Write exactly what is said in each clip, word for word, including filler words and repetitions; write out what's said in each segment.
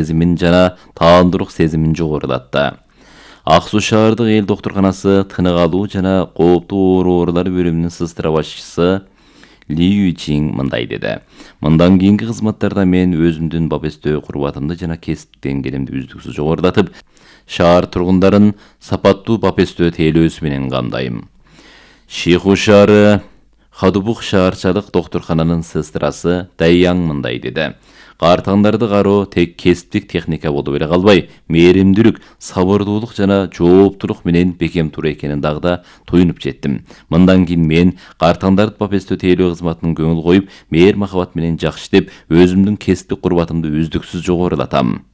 сезимин жана таандык сезимин жогорулатты. Ак Суу шаардык эл доктурканасы тынык алуу жана кооптуу оорулар бөлүмүнүн сыстыра башчысы Ли Юйчин мындай деди. Мындан кийинки кызматтарда мен өзүмдүн бапестөө курбатымды жана кесип деңгээлимди үздүксүз жогорулатып, шаар тургундарын сапаттуу бапестөө тейлөөсү менен камдайм. Шиху шаары Хадубук шаарчалык доктуркананын сыстырасы Дайяң мындай деди. Картаңдарды кароо тек кесиптик техника болуп эле калбай, мээримдүүлүк, сабырдуулук жана жооптулук менен бекем тура экенин дагы да туюнуп жеттим. Мындан кийин мен картаңдарды бапестөө тейлөө кызматына көңүл коюп, мээр махабат менен жакшы деп, өзүмдүн кесиптик курбатымды үздүксүз жогорулатам.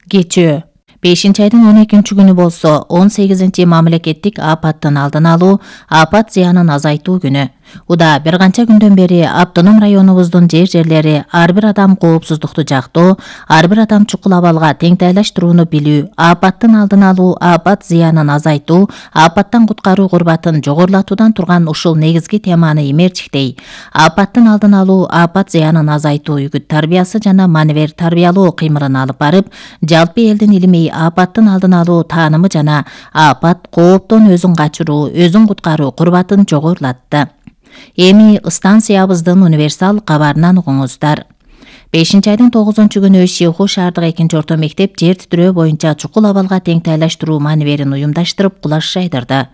Кечээ бешинчи айдын он экинчи күнү болсо, он сегизинчи мамлекеттик апаттын алдын алуу, апат зыянын азайтуу күнү. Уда бир канча күндөн бери автоном районубуздун жер-жерлери ар бир адам коопсуздукту жактоо, ар бир адам чукул абалга теңтайлаштырууну билүү, апаттын алдын алуу, апат зыянын азайтуу, апаттан куткаруу курбатын жогорулатуудан турган ушул негизги теманы имерчиктей. Апаттын алдын алуу, апат зыянын азайтуу үгүт тарбиясы жана маневер тарбиялоо кыймылын алып барып, жалпы элдин илимий апаттын алдын алуу таанымы жана апат кооптон өзүн качыруу, өзүн куткаруу курбатын жогорулатты. Эми станциябыздын универсал кабарынан угуңуздар. бешинчи айдын тогузунчу күнү Шиху шаардык экинчи орто мектеп жер титирөө боюнча чукул абалга теңтайлаштыруу маневерин уюмдаштырып кулаш жайдырды.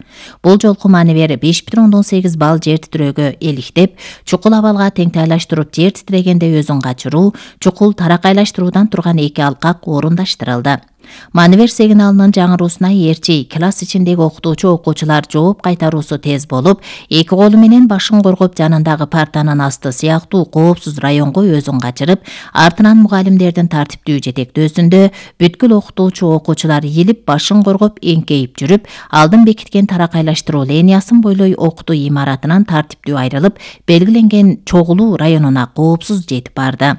Бул жолку маневер беш бүтүн ондон сегиз балл жер титирөөгө эликтеп, чукул абалга теңтайлаштырып жер титирегенде өзүн качыруу, чукул таракайлаштыруудан турган эки алкак орундаштырылды. Маневер сигналынын жаңыруусуна ээрчи класс ичиндеги окутуучу окуучулар жооп кайтаруусу тез болуп, эки колу менен башын коргоп жанындагы партанын асты сыяктуу коопсуз районго өзүн качырып, артынан мугалимдердин тартиптүү жетектөөсүндө бүткүл окутуучу окуучулар ийилип, башын коргоп эңкейип жүрүп, алдын бекиткен таракайлаштыруу линиясын бойлой окутуу имаратынан тартиптүү айрылып, белгиленген чогулуу районуна коопсуз жетип барды.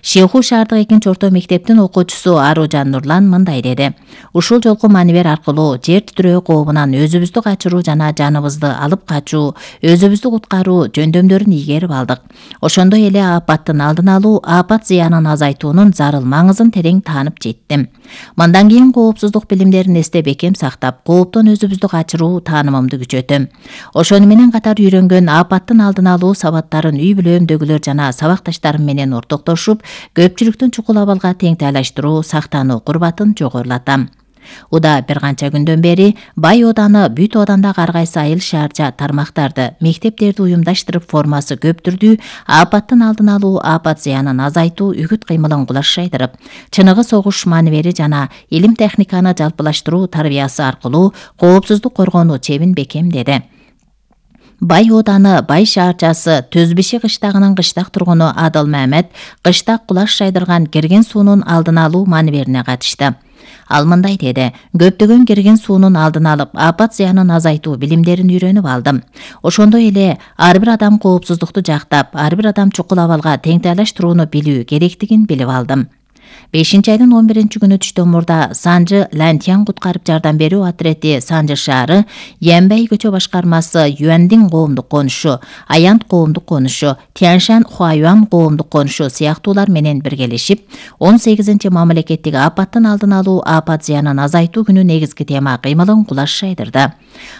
Шиху шаардык экинчи орто мектептин окуучусу Аружан Нурлан мындай деди. Ушул жолку маневер аркылуу жер титирөө кообунан өзүбүздү качыруу жана жаныбызды алып качуу, өзүбүздү куткаруу жөндөмдөрүн ийгерип алдык. Ошондой эле апаттын алдын алуу, апат зыянын азайтуунун зарыл маңызын терең таанып жеттим. Мындан кийин коопсуздук билимдерин эсте бекем сактап, кооптон өзүбүздү качыруу таанымымды күчөтөм. Ошону менен катар үйрөнгөн апаттын алдын алуу сабаттарын үй бүлөмдөгүлөр жана сабакташтарым менен ортоктошуп, көпчүлүктүн чукул абалга теңтайлаштыруу, сактануу курбатын жогорулатам. Уда бир канча күндөн бери Бай ооданы, бүт оодандагы ар кайсы айыл шаарча тармактарды, мектептерди уюмдаштырып формасы көп түрдүү апаттын алдын алуу, апат зыянын азайтуу үгүт кыймылын кулаш жайдырып, чыныгы согуш маневери жана илим техниканы жалпылаштыруу тарбиясы аркылуу коопсуздук коргонуу чебин бекемдеди. Бай ооданы Бай шаарчасы Төзбеши кыштагынын кыштак тургуну Адыл Мамед кыштак кулаш жайдырган кирген суунун алдын алуу маневерине катышты. Ал мындай деди: көптөгөн кирген суунун алдын алып, апат зыянын азайтуу билимдерин үйрөнүп алдым. Ошондой эле ар бир адам коопсуздукту жактап, ар бир адам чукул абалга теңтайлаштырууну билүү керектигин билип алдым. бешинчи айдын он биринчи күнү түштөн мурда Санжы Лантьян куткарып жардам берүү отрети Санжы шаары, Янбай көчө башкармасы Юандин коомдук конушу, Аянт коомдук конушу, Тяншан Хуаюан коомдук конушу сыяктуулар менен биргелешип, он сегизинчи мамлекеттик апаттын алдын алуу, апат зыянын азайтуу күнү негизги тема кыймылын кулаш жайдырды.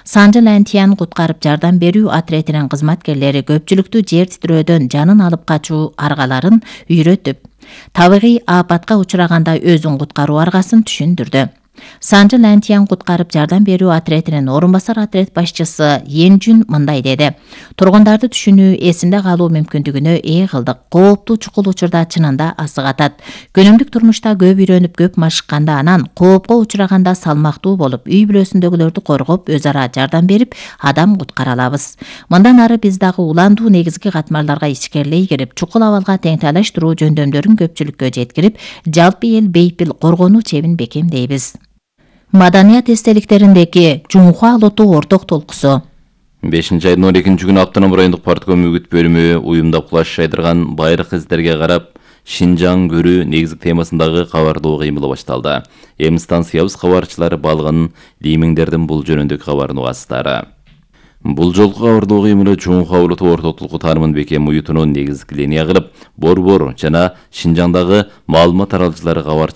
Санжы Лантьян куткарып жардам берүү отретинин кызматкерлери көпчүлүктү жер титирөөдөн жанын алып качуу аргаларын үйрөтүп, табигый апатка учураганда өзүн куткаруу аргасын түшүндүрдү. Санжы Лантьян куткарып жардам берүү отретинин орун басар отрет башчысы Енжүн мындай деди: тургундарды түшүнүү, эсинде калуу мүмкүндүгүнө ээ кылдык. Кооптуу чукул учурда чынында асык атат. Күнүмдүк турмушта көп үйрөнүп, көп машыкканда, анан коопко учураганда салмактуу болуп, үй бүлөсүндөгүлөрдү коргоп, өз ара жардам берип, адам куткара алабыз. Мындан ары биз дагы уландуу негизги катмарларга ичкерлей кирип, чукул абалга теңтайлаштыруу жөндөмдөрүн көпчүлүккө жеткирип, жалпы эл бейпил коргонуу чебин бекемдейбиз. Маданият эстеликтериндеги Жумхуа лоту орток толкусу. бешинчи айдын он экинчи күнү автоном райондук партком үгүт бөлүмү уюмдап кулаш жайдырган байыркы издерге карап Шинжаң көрүү негизги темасындагы кабардоо кыймылы башталды. Эми станциябыз кабарчылары балган лимиңдердин бул жөнүндөгү кабарын угасыздар. Бул жолку кабардоо кыймылы Жумхуа лоту орток толку таанымын бекем уютууну негизги линия кылып, Борбор жана Шинжаңдагы маалымат таралгычылары кабар